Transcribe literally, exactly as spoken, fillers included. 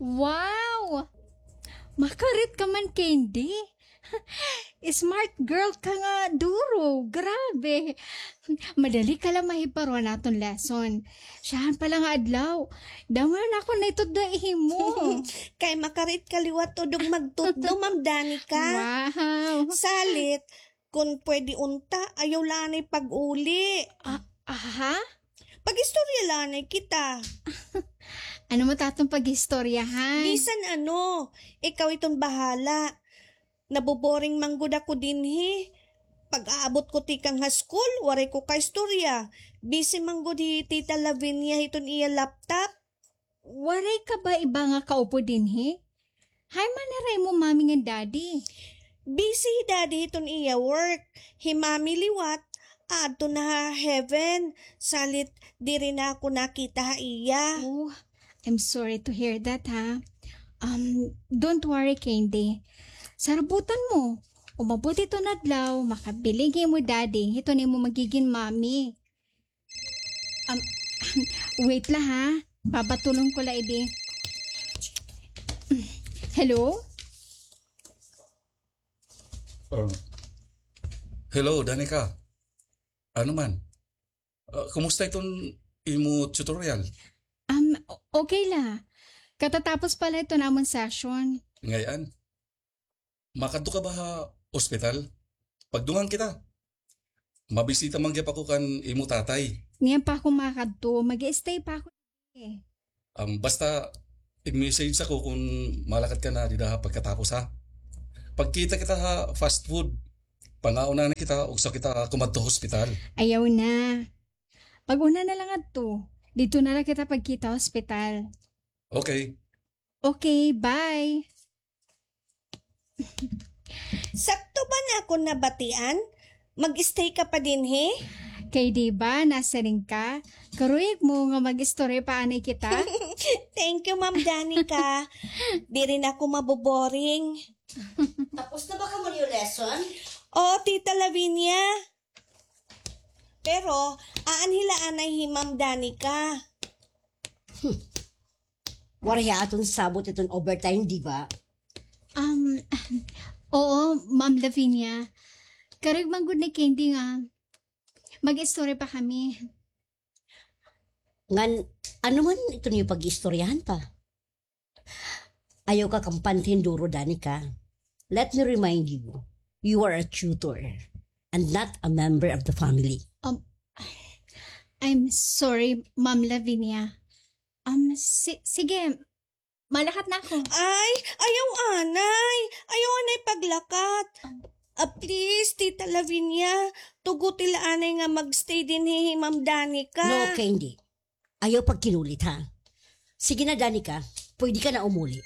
Wow! Makarit ka man, Candy. Smart girl ka nga duro. Grabe. Madali ka la mahiparuan aton lesson. Siyahan pa la nga adlaw. Damo na ako naitutdo imo. Kay makarit ka liwat tudog magtutdo, Ma'am Danica. Wow. Salit, kun pwede unta, ayaw la anay pag-uli. Ah, aha? Pag-istorya la anay kita. Ano man it aton pag-istoryahan? Bisan ano, ikaw iton bahala. Naboboring man gud ako dinhi. Pag-aabot ko tikang ha school, waray ko kaistorya. Busy man gud hi Tita Lavinia hiton iya laptop. Waray ka ba iba nga kaupod dinhi? Hay man hira imo mommy ngan daddy. Busy hi daddy hiton iya work. Hi mommy liwat, aadto na ha heaven. Salit diri na ako nakita ha iya. Oh, I'm sorry to hear that, ha. Um, don't worry, Candy. Sarabutan mo. Umabot iton adlaw, makabiling hi imo daddy hiton imo magigin mommy. Um, wait la, ha. Papatulon ko la idi. Hello? Uh, hello, Danica. Ano man? Uh, kumusta iton imo tutorial? Um, o-, okay la. Katatapos pa la iton amon session. Ngay-an? Makadto ka ba ha ospital? Pagdungan kita. Mabisita man gihap ako kan imo tatay. Niyan pa ako makadto. Mag-i-stay pa ako, eh. Um, basta, i-message ako kun malakat ka na dida ha pagkatapos, ha? Pagkita kita ha fast food. Pangaon na kita, ugsa kita kumadto ha ospital. Ayaw na. Pag-una na la ngadto. Didto na la kita pagkita ha ospital. Okay. Okay, bye. Sakto ba an akon nabatian? Mag-stay ka pa dinhi? Kay di ba, nasiring ka, karuyag mo nga mag-istorya pa anay kita? Thank you, Ma'am Danica. Diri na ako maboboring. Tapos na ba kamo niyo lesson? Oo, Tita Lavinia. Pero, aanhi la anay hi Ma'am Danica. Hmm. Waray ha aton sabot iton overtime, di ba? Um, oo, Ma'am Lavinia. Karuyag man gud ni Candy nga mag-istorya pa kami. Ngan, ano man iton iyo pag-iistoryahan pa? Ayaw ka kampante hin duro, Danica. Let me remind you, you are a tutor and not a member of the family. Um, I'm sorry, Ma'am Lavinia. Um, si-, sige, malakat na ako. Ay, ayaw anay. Ayaw anay paglakat. Ah, please, Tita Lavinia, tuguti la anay nga mag-stay dinhi hi Ma'am Danica. No, Candy. Ayaw pagkinulit, ha? Sige na, Danica. Pwede ka na umuli.